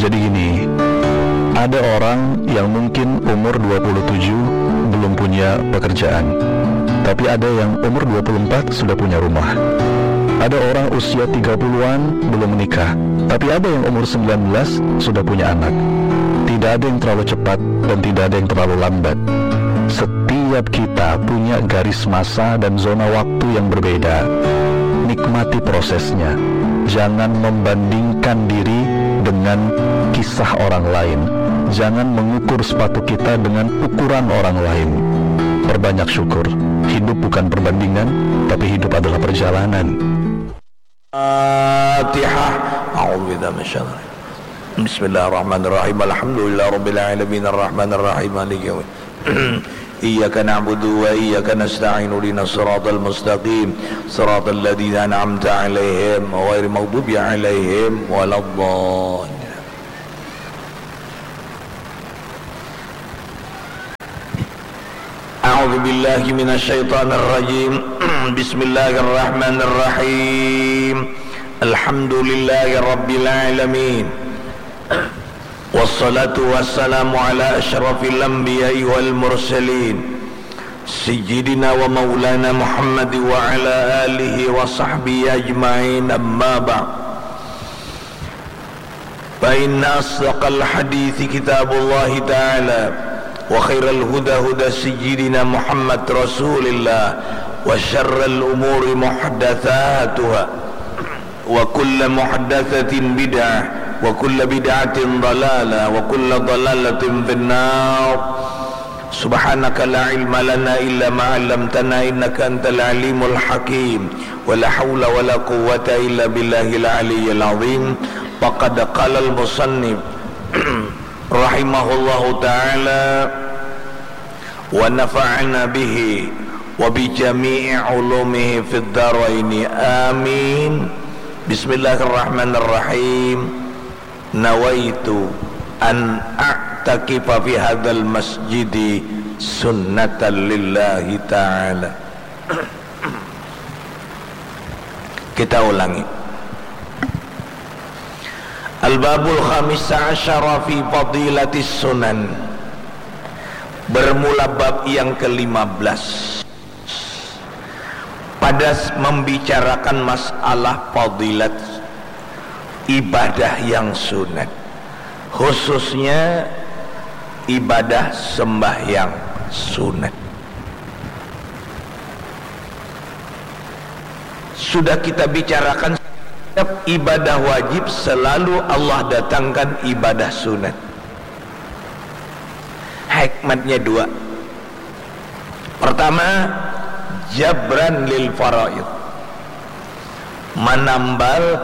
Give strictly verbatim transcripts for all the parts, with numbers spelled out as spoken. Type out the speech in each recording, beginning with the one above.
Jadi gini, ada orang yang mungkin umur dua puluh tujuh belum punya pekerjaan, tapi ada yang umur dua puluh empat sudah punya rumah. Ada orang usia tiga puluhan belum menikah, tapi ada yang umur sembilan belas sudah punya anak. Tidak ada yang terlalu cepat dan tidak ada yang terlalu lambat. Setiap kita punya garis masa dan zona waktu yang berbeda. Nikmati prosesnya. Jangan membandingkan diri dengan kisah orang lain. Jangan mengukur sepatu kita dengan ukuran orang lain. Perbanyak syukur. Hidup bukan perbandingan, tapi hidup adalah perjalanan. Fatihah. A'udzu billahi minasyaitonir rajim. Bismillahirrahmanirrahim. Alhamdulillahirabbil alamin, arrahmanirrahim, maliki yaumiddin. Iyyaka na'budu wa iyyaka nasta'in. Ihdinas siratal mustaqim. Siratal ladzina an'amta 'alaihim ghairil maghdubi 'alaihim waladdallin. A'udzu billahi minasyaitonir rajim. Bismillahirrahmanirrahim. Alhamdulillahi rabbil alamin. Wassalatu wassalamu ala asyrafil anbiya'i wal mursalin, sayyidina wa maulana Muhammad wa ala alihi wa sahbihi ajma'in, amma ba'd. Fa inna asdaqal hadithi kitabullahi ta'ala, wa khairal huda huda sayyidina Muhammad rasulillah, wa syarral umuri muhdatsatuha, wa kulla muhdatsatin bid'ah, wa kulla bid'atin dalalah, wa kulla dalalatin finnar. Subhanaka la ilma lana illa ma 'allamtana innaka antal alimul hakim. Wa la haula wa la quwwata illa billahil aliyyil azim. Faqad qalal musannif rahimahullahu ta'ala wa nafa'ana bihi wa bi jami'i ulumihi fid daraini. Amin. Bismillahirrahmanirrahim. Nawaitu an a'takifa fi hadzal masjidi sunnatan lillahi ta'ala. Kita ulangi. Al-babul khamisa asyara fi fadilatis sunan. Bermula bab yang kelima belas. Pada s-, membicarakan masalah fadilat ibadah yang sunat, khususnya ibadah sembahyang sunat. Sudah kita bicarakan, setiap ibadah wajib selalu Allah datangkan ibadah sunat. Hikmatnya dua. Pertama, jabran lil faraid. Manambal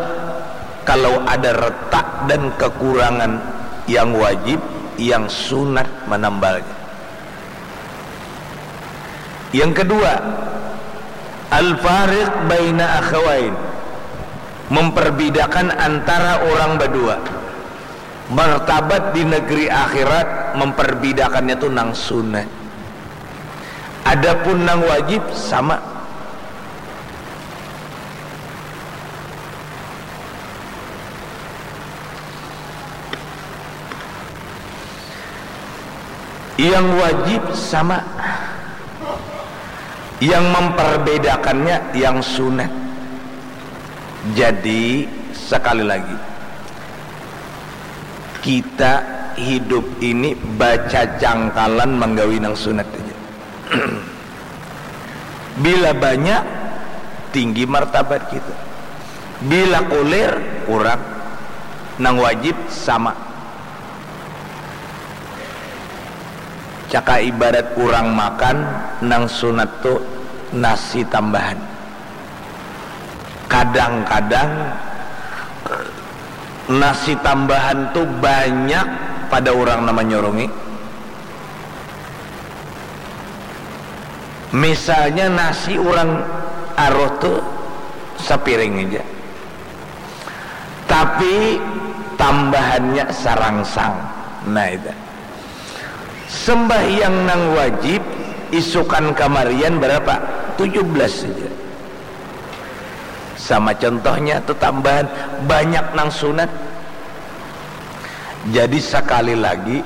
kalau ada retak dan kekurangan yang wajib, yang sunat manambalnya. Yang kedua, al-fariq baina akhawain. Memperbedakan antara orang berdua. Martabat di negeri akhirat memperbedakannya tu nang sunat. Adapun nang wajib sama. Yang wajib sama. Yang memperbedakannya yang sunat. Jadi, sekali lagi, kita hidup ini bacacangkalan manggawi nang sunat aja. Bila banyak, tinggi martabat kita. Bila kulir, kurang. Nang wajib sama. Caka ibarat urang makan, nang sunat tu nasi tambahan. Kadang-kadang nasi tambahan tu banyak pada urang nang manyurungi. Misalnya nasi urang aruh tu sapiring aja. Tapi tambahannya sarangsang. Nah, itu. Sembahyang nang wajib isukan kamarian berapa? Tujuh belas saja. Sama contohnya tu tambahan banyak nang sunat. Jadi, sekali lagi,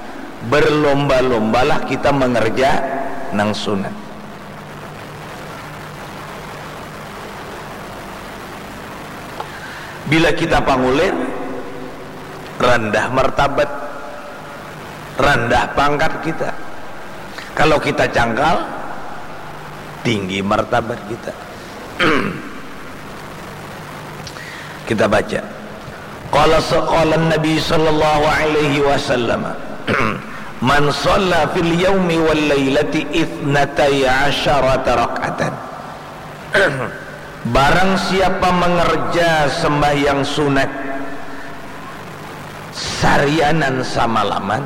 berlomba-lombalah kita mengerja nang sunat. Bila kita pangulir, rendah martabat, rendah pangkat kita. Kalau kita cangkal, tinggi martabat kita. Kita baca. Qala sa-, qala Nabi sallallahu alaihi wasallam, "Man shalla fil yaumi wal lailati itsnatai asyarata rak'atan." Barang siapa mengerja sembahyang sunat sarianan samalaman,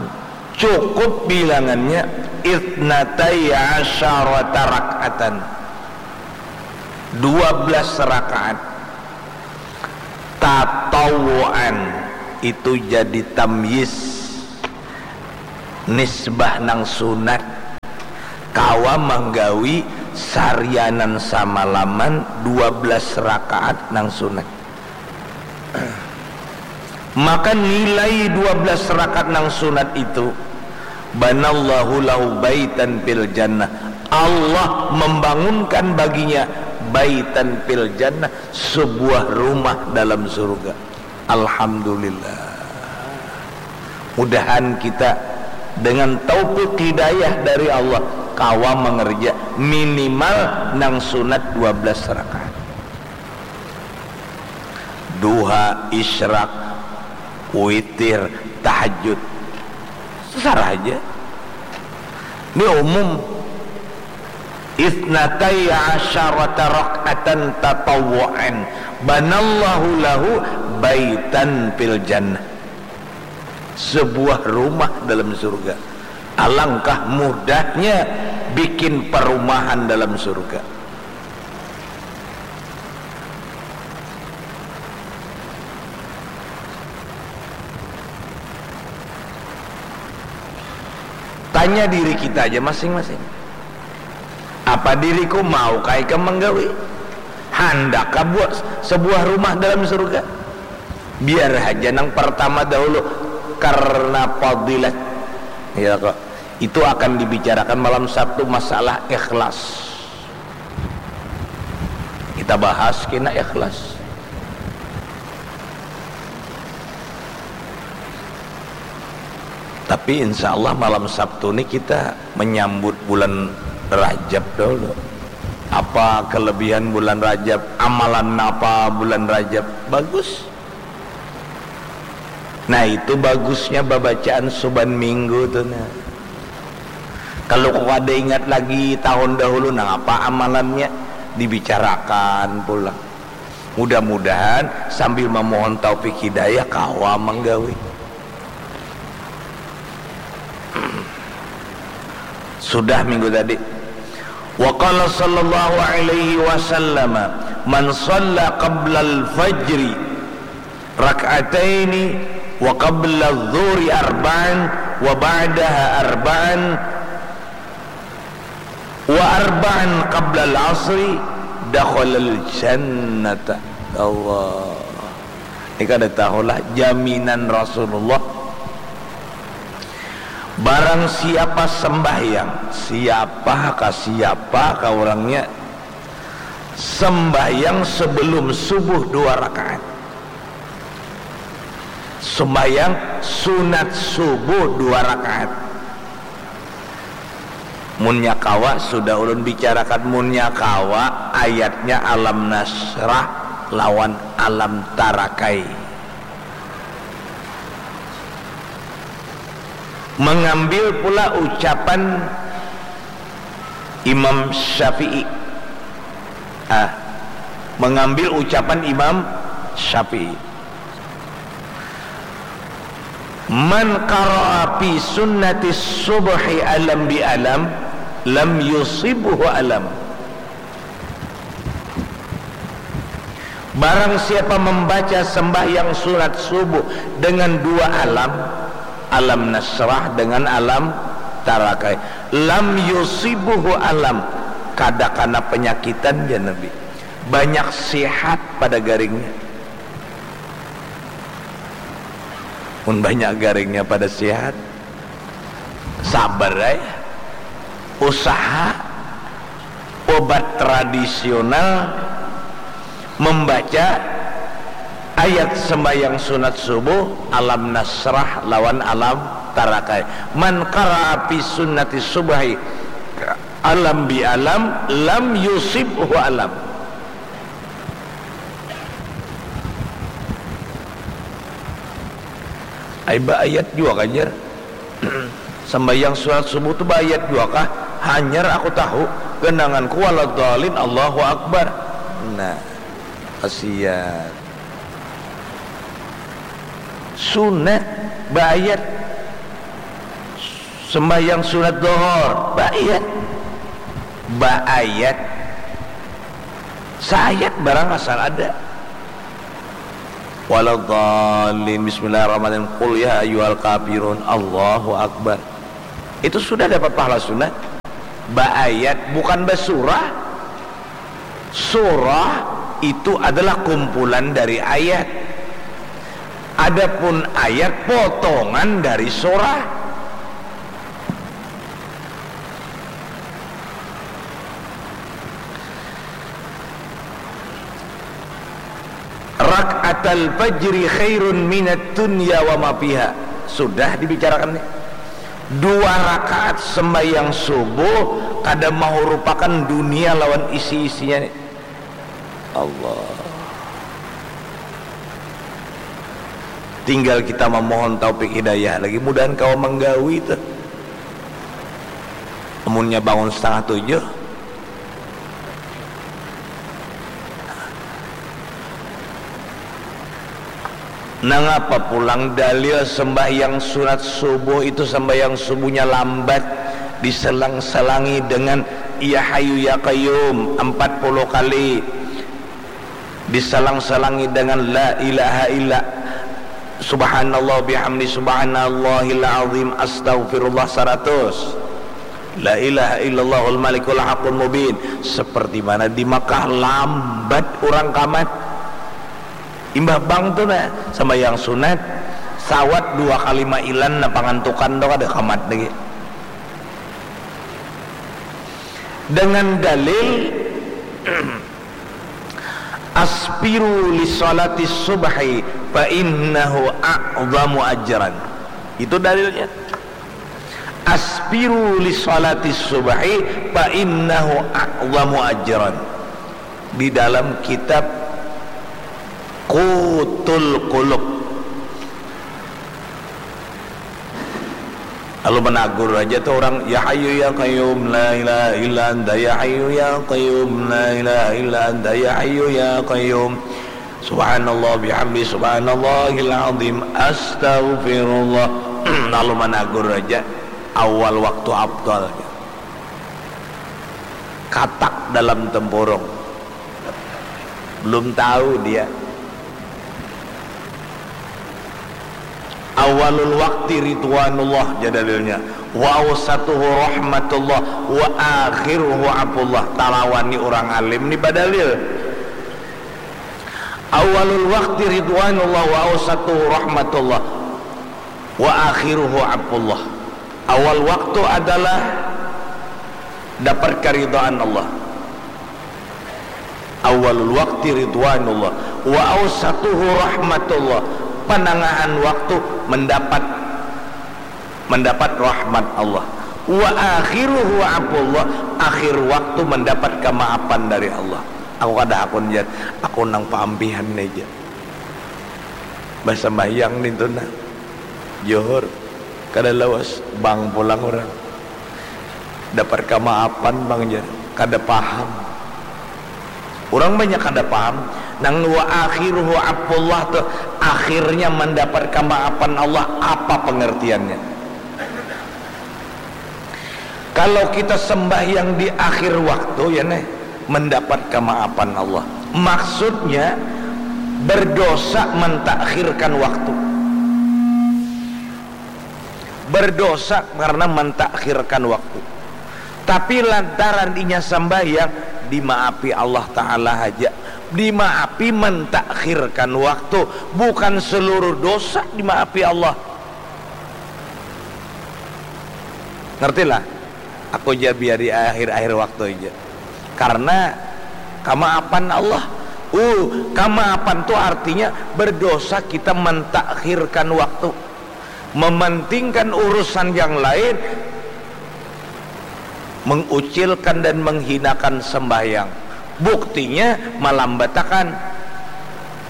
cukup bilangannya itsnatai asyarata rak'atan, dua belas rakaat. Tatawuan itu jadi tamyiz, nisbah nang sunat. Kawa manggawi sarianan samalaman dua belas rakaat nang sunat. Maka nilai dua belas rakaat nang sunat itu, "Banallahu lahu baitan fil jannah." Allah membangunkan baginya baitan fil jannah, sebuah rumah dalam surga. Alhamdulillah. Mudahan kita dengan taufik hidayah dari Allah kawa mengerja minimal nang sunat dua belas rakaat. Duha, isyraq, witir, tahajud. Sarah aja. Ini umum. Itsnatai asyarata rak'atan tatawwu'an, banallahu lahu baitan fil jannah. Sebuah rumah dalam surga. Alangkah mudahnya bikin perumahan dalam surga. Tanya diri kita aja masing-masing. Apa diriku mau kah ikam menggawi? Handak kah buat sebuah rumah dalam surga? Biar haja nang pertama dahulu karena fadilat. Ya kok. Itu akan dibicarakan malam Sabtu masalah ikhlas. Kita bahas kena ikhlas. Tapi insya Allah malam Sabtu ni kita menyambut bulan Rajab dahulu. Apa kelebihan bulan Rajab? Amalan apa bulan Rajab? Bagus. Nah, itu bagusnya babacaan suban minggu tu nah. Kalau kada ingat lagi tahun dahulu, nah apa amalannya? Dibicarakan pulang. Mudah-mudahan sambil memohon taufik hidayah kawa menggawi. Sudah minggu tadi. Wa qala sallallahu alaihi wasallam, "Man shalla qablal fajri rak'ataini wa qabla dhuhri arba'an wa ba'daha arba'an wa arba'an qablal asri dakhalal jannata." Allah. Ini kada tahulah jaminan Rasulullah. Barang siapa sembahyang, siapa ka siapa ka orangnya, sembahyang sebelum subuh dua rakaat. Sembahyang sunat subuh dua rakaat. Munnya kawa, sudah ulun bicarakan, munnya kawa ayatnya Alam Nasyrah lawan Alam Tarakai. Mengambil pula ucapan Imam Syafi'i. Ah, mengambil ucapan Imam Syafi'i. "Man qara'a fi sunnati subhi alam bi alam, lam yusibhu alam." Barang siapa membaca sembahyang sunat subuh dengan dua alam, Alam Nasyrah dengan Alam Tarakai, lam yusibhu alam, kada kana penyakitan, jar Nabi. Banyak sihat pada garingnya. Mun banyak garingnya pada sihat, sabar ai. Usaha obat tradisional membaca ayat sembahyang sunat subuh, alam nasrah lawan alam tarakai. Man qara'a fi sunnati subhi alam bi alam lam yusibhu alam. Ai baayat jua kan jar. Sambayang sunat subuh tu baayat jua kah? Hanyar aku tahu, genanganku waladhalin, Allahu Akbar. Nah, kasihan. Sunat baayat. Sembahyang sunat dohor baayat. Baayat. Saayat barang asal ada. Waladhalin, bismillahirrahmanirrahim, qul ya ayyuhal kafirun, Allahu Akbar. Itu sudah dapat pahala sunat. Baayat, bukan basurah. Surah itu adalah kumpulan dari ayat. Adapun ayat potongan dari surah. Rak'atal fajri khairun minad dunya wa ma fiha. Sudah dibicarakan nih. Dua rakaat sembahyang subuh kada mahurupakan dunia lawan isi-isinya nih. Allah. Tinggal kita memohon taufik hidayah lagi. Mudahan kawa manggawi tuh. Amunnya bangun setengah tujuh. Nangapa pulang dalil sembahyang sunat subuh itu, sembahyang subuhnya lambat, diselang-selangi dengan ya hayyu ya qayyum empat puluh kali, diselang-selangi dengan la ilaha illa, subhanallah bihamdi, subhanallahil azim, astaghfirullah seratus, la ilaha illallahul malikul haqqul mubin. Seperti mana di Makkah lambat orang kamat. Imbah bang tu nah, sembahyang sunat, sawat dua kali mailan, nah pangantukan tu kada kamat lagi. Dengan dalil, asbiru li salati subhi fa innahu a'zamu ajran. Itu dalilnya. Asbiru li salati subhi fa innahu a'zamu ajran. Di dalam kitab Qutul Qulub. Lalu menagur aja tuh orang, ya hayyu ya qayyum la ilaha illa anta, ya hayyu ya qayyum la ilaha illa anta, ya hayyu ya qayyum, subhanallah bihamdi, subhanallahil azim, astaghfirullah. Lalu menagur aja, awal waktu afdal. Katak dalam tempurung. Belum tahu dia. Awalul wakti ridwanullah, ja dalilnya. Wa ausatuhu rahmatullah, wa akhiruhu afullah. Talawani orang alim ni badalil. Awalul wakti ridwanullah, wa ausatuhu rahmatullah, wa akhiruhu afullah. Awal waktu adalah dapat keridhaan Allah. Awalul wakti ridwanullah, wa ausatuhu rahmatullah. Panangahan waktu mendapat, mendapat rahmat Allah. Wa akhiruhu afullah, akhir waktu mendapat kemaafan dari Allah. Aku kada hakun jar, aku nang paampihan aja. Basambahyang nintu nah. Johor. Kada lawas, bang pulang urang. Dapat kamaapan bang jar. Kada paham. Urang banyak kada paham. Nang wa akhiruhu afullah tu, akhirnya mandapat kamaapan Allah, apa pengertiannya? Kalau kita sembahyang di akhir waktu, ya neh, mendapat kemaapan Allah. Maksudnya, berdosa mentakhirkan waktu. Berdosa karena mentakhirkan waktu. Tapi lantaran inya sembahyang, dimaafi Allah Ta'ala haja. Dimaafi mentakhir akhirkan waktu, bukan seluruh dosa dimaafi Allah. Ngertilah? Aku ja biari akhir-akhir waktu aja. Karena kamaapan Allah. Uh, kamaapan tu artinya berdosa kita mentakhirkan waktu. Mementingkan urusan yang lain, mengucilkan dan menghinakan sembahyang. Buktinya malambatakan.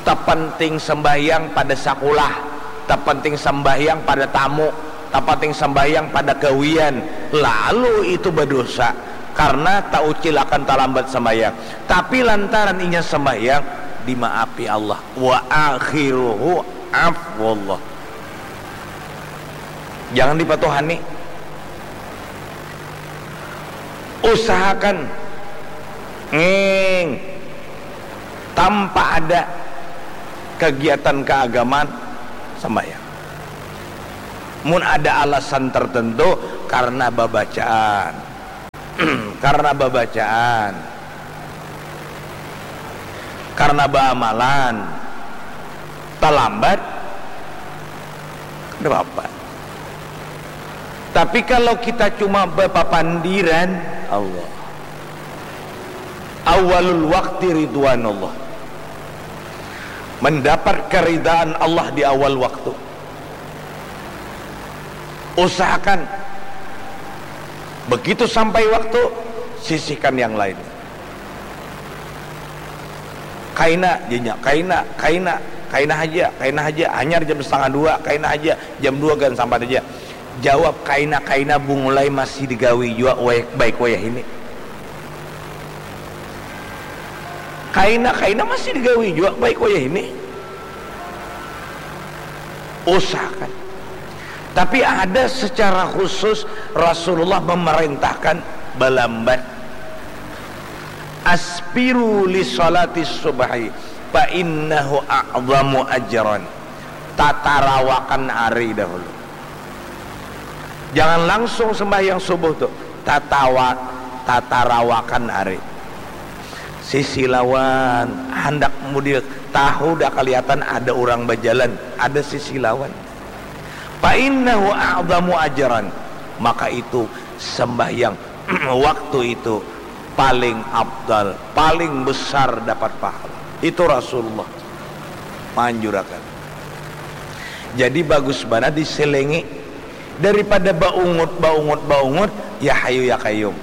Tapenting sembahyang pada sakulah, tapenting sembahyang pada tamu, tapenting sembahyang pada gawian, lalu itu berdosa karena taucilakan talambat sembahyang. Tapi lantaran inya sembahyang, dimaafi Allah. Wa akhiruhu afwallah. Jangan dipatuhani. Usahakan nging tanpa ada kegiatan keagamaan sembahyang. Mun ada alasan tertentu karena babacaan, karena babacaan, karena baamalan, talambat, kada apa-apa. Tapi kalau kita cuma bapapandiran, Allah. Awalul wakti ridwanullah. Mendapat keridaan Allah di awal waktu. Usahakan begitu sampai waktu, sisihkan yang lain. Kaina, janya, kaina, kaina, kaina haja, kaina haja, hanyar jam setengah dua, kaina haja, jam dua gan sampat haja. Jawab, kaina, kaina, bungulai masih digawi jua, wayah, baik wayah ini. Kaina, kaina masih digawi jua, baik wayah ini. Usahakan. Tapi ada secara khusus Rasulullah memerintahkan balambat. Asbiru li salati subhi fa innahu a'zamu ajran. Tatarawakan ari dahulu. Jangan langsung sembahyang subuh tu. Tatawa, tatarawakan ari. Sisi lawan, handak mudik, tahu dah kelihatan ada orang bajalan, ada sisi lawan. Fa innahu a'zamu ajran. Maka itu sembahyang waktu itu paling afdal, paling besar dapat pahala. Itu Rasulullah manjurakan. Jadi bagus banar diselengi daripada baungut, baungut, baungut, ya hayu ya qayyum.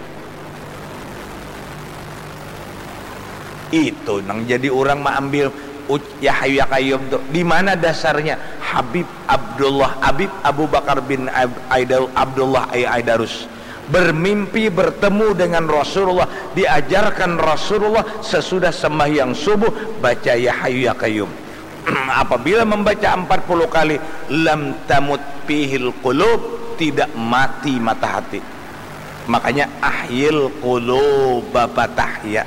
Itu nang jadi orang maambil uc-, ya hayu ya qayyum tu. Di mana dasarnya? Habib Abdullah, Habib Abu Bakar bin Ab-, Aidar-, Abdullah Ai-, Aidarus bermimpi bertemu dengan Rasulullah, diajarkan Rasulullah sesudah sembahyang subuh baca ya hayu ya qayyum. Apabila membaca empat puluh kali, lam tamut fihil qulub, tidak mati mata hati. Makanya ahyil quluba fatahya.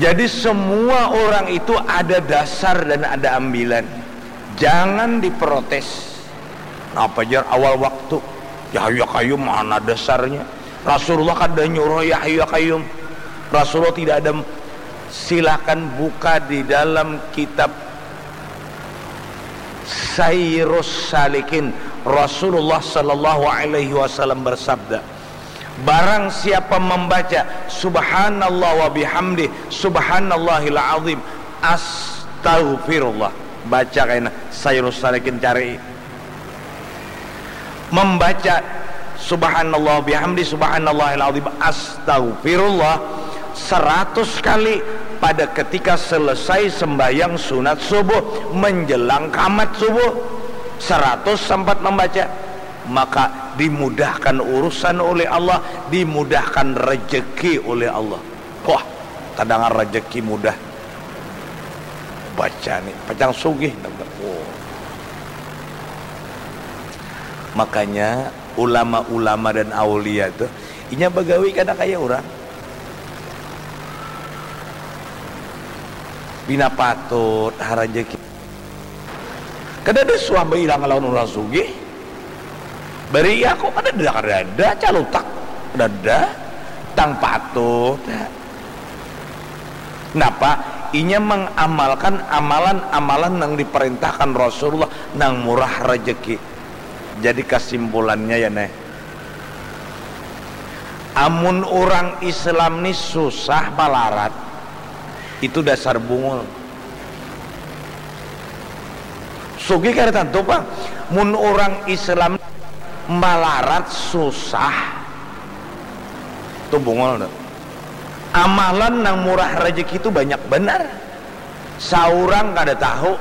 Jadi semua orang itu ada dasar dan ada ambilan. Jangan diprotes. Napa jar awal waktu? Ya hayu ya qayyum mana dasarnya? Rasulullah kada nyuruh ya hayu ya qayyum. Rasulullah tidak ada. Silakan buka di dalam kitab Sairus Salikin. Rasulullah sallallahu alaihi wasallam bersabda, barang siapa membaca subhanallah wa bihamdi, subhanallahil azim, astaghfirullah. Baca kaina Sairus Salikin, cari. Membaca subhanallah bihamdi, subhanallahil azim, astaghfirullah seratus kali pada ketika selesai sembahyang sunat subuh, menjelang kamat subuh, seratus sempat membaca, maka dimudahkan urusan oleh Allah, dimudahkan rezeki oleh Allah. Wah, tadangar rezeki mudah. Baca ni, pacang sugih. Wow. Makanya ulama-ulama dan aulia tu, inya bagawi kada kaya urang. Pina patut ha rezeki. Kada ada suah bailang lawan urang sugih. Bari aku kada ada, kada ada calutak, kada ada. Tang patut. Napa? Inya mengamalkan amalan-amalan yang diperintahkan Rasulullah nang murah rezeki. Jadi kesimpulannya ya neh, amun orang Islam ni susah malarat, itu dasar bungul. Sugih kada tantu pang. Mun orang Islam malarat susah, tu bungul tu. Amalan nang murah rezeki tu banyak benar. Saurang kada tahu.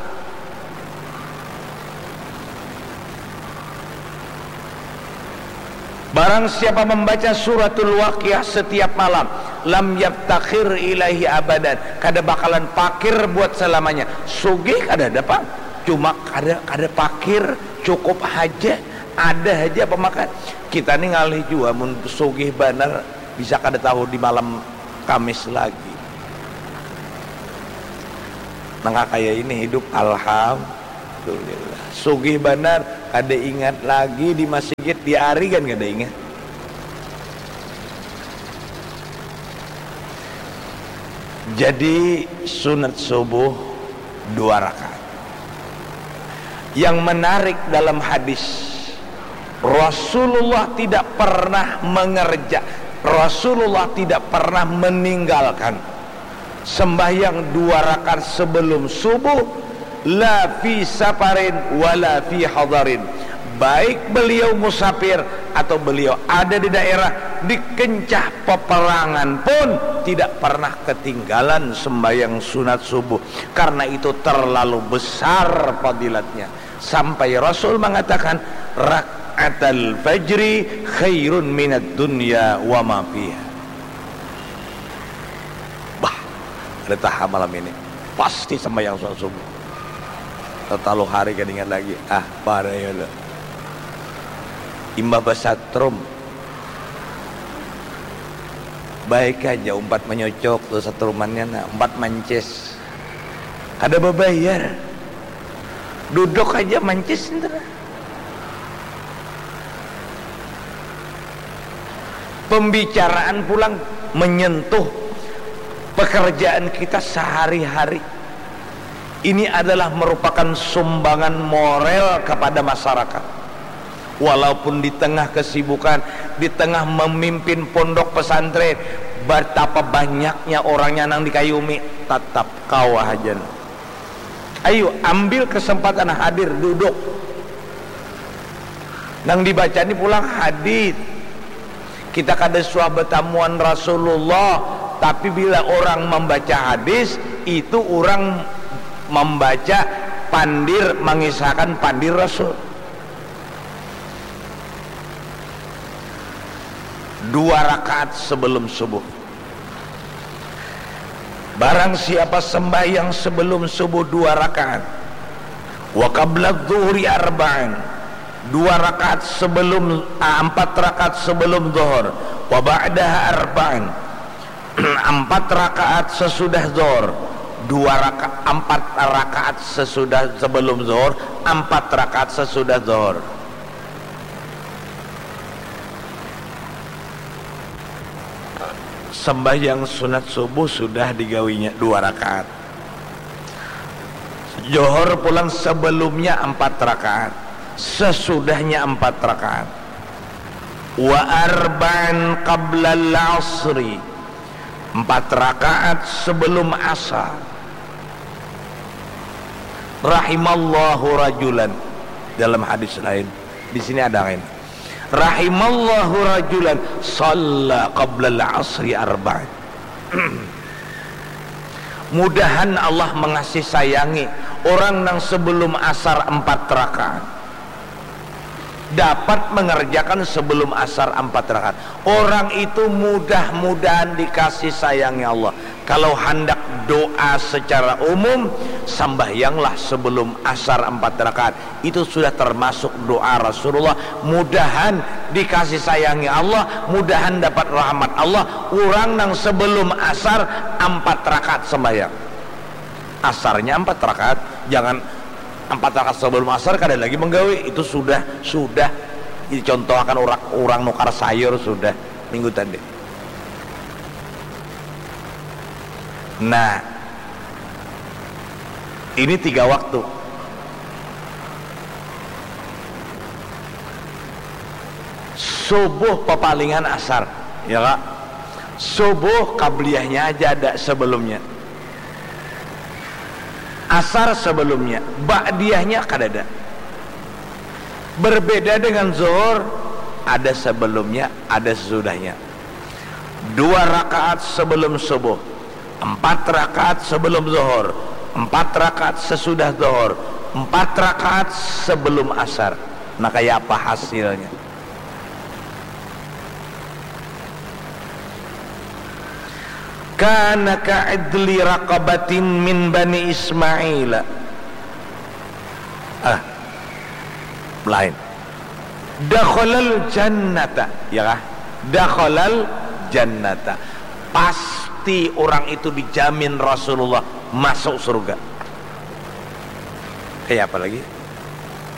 Barang siapa membaca suratul Waqiah setiap malam, lam yaftakhir ilaihi abadan, kada bakalan pakir buat selamanya. Sugih kada ada pang, cuma kada kada pakir, cukup haja, ada haja pemakan. Kita ni ngalih jua mun sugih banar bisa kada tahu di malam Kamis lagi. Nang kaya ini hidup, alhamdulillah. Sugih banar, kada ingat lagi di masigit, di arigan kada ingat. Jadi sunat subuh dua rakaat. Yang menarik dalam hadis, Rasulullah tidak pernah mengerja, Rasulullah tidak pernah meninggalkan sembahyang dua rakaat sebelum subuh, la fi safarin wala fi hadarin. Baik beliau musafir atau beliau ada di daerah, di kencah peperangan pun tidak pernah ketinggalan sembahyang sunat subuh. Karena itu terlalu besar fadilatnya. Sampai Rasul mengatakan, rakaatal fajri khairun minad dunya wa ma fiha. Bah, ada taha malam ini. Pasti sembahyang sunat subuh. Tatalu hari kada ingat lagi. Ah, pada ya lo. Imbah basatrum. Baik aja umpat menyocok tu satrumannya, nah, umpat mancis. Kada babayar. Duduk aja mancis, entah. Pembicaraan pulang menyentuh pekerjaan kita sehari-hari. Ini adalah merupakan sumbangan moral kepada masyarakat. Walaupun di tengah kesibukan, di tengah memimpin pondok pesantren, betapa banyaknya orangnya nang dikayumi, tatap kawa haja. Ayu, ambil kesempatan hadir, duduk. Nang dibaca ni pulang hadis. Kita kada suah betamuan Rasulullah, tapi bila orang membaca hadis, itu orang membaca pandir, mengisahkan pandir Rasul. Dua rakaat sebelum subuh. Barang siapa sembahyang sebelum subuh dua rakaat, wa qabla dhuhri arba'an, dua rakaat sebelum, ah, empat rakaat sebelum zuhur, wa ba'daha arba'an, empat rakaat sesudah zuhur, dua raka-, empat rakaat sesudah, sebelum zuhur, empat rakaat sesudah zuhur. Sembahyang sunat subuh sudah digawinya dua rakaat. Johor pulang sebelumnya empat rakaat, sesudahnya empat rakaat. Wa arba'an qablal asri, empat rakaat sebelum asar. Rahimallahu rajulan, dalam hadis lain. Di sini ada lain. Rahimallahu rajulan shalla qablal asri arba'an. Mudahan Allah mengasih sayangi orang nang sebelum asar empat rakaat dapat mengerjakan sebelum asar empat rakaat. Orang itu mudah-mudahan dikasih sayangi Allah. Kalau handak doa secara umum, sambahyanglah sebelum asar empat rakaat. Itu sudah termasuk doa Rasulullah. Mudahan dikasih sayangi Allah, mudahan dapat rahmat Allah. Orang nang sebelum asar empat rakaat sembahyang. Asarnya empat rakaat, jangan empat rakaat sebelum asar kada lagi menggawi. Itu sudah, sudah dicontohkan orang, orang nukar sayur sudah minggu tadi. Nah, ini tiga waktu. Subuh papalingan asar, ya kak? Subuh qabliyahnya aja ada sebelumnya. Asar sebelumnya, ba'diyahnya kadada. Berbeda dengan zuhur, ada sebelumnya, ada sesudahnya. Dua rakaat sebelum subuh, empat rakaat sebelum zuhur, empat rakaat sesudah zuhur, empat rakaat sebelum asar. Nah, kaya apa hasilnya? Kana ka'idli raqabatin min bani Ismaila. Ah, lain. Dakhalal jannata, ya kah? Dakhalal jannata. Pasti orang itu dijamin Rasulullah masuk surga. Kayak apa lagi?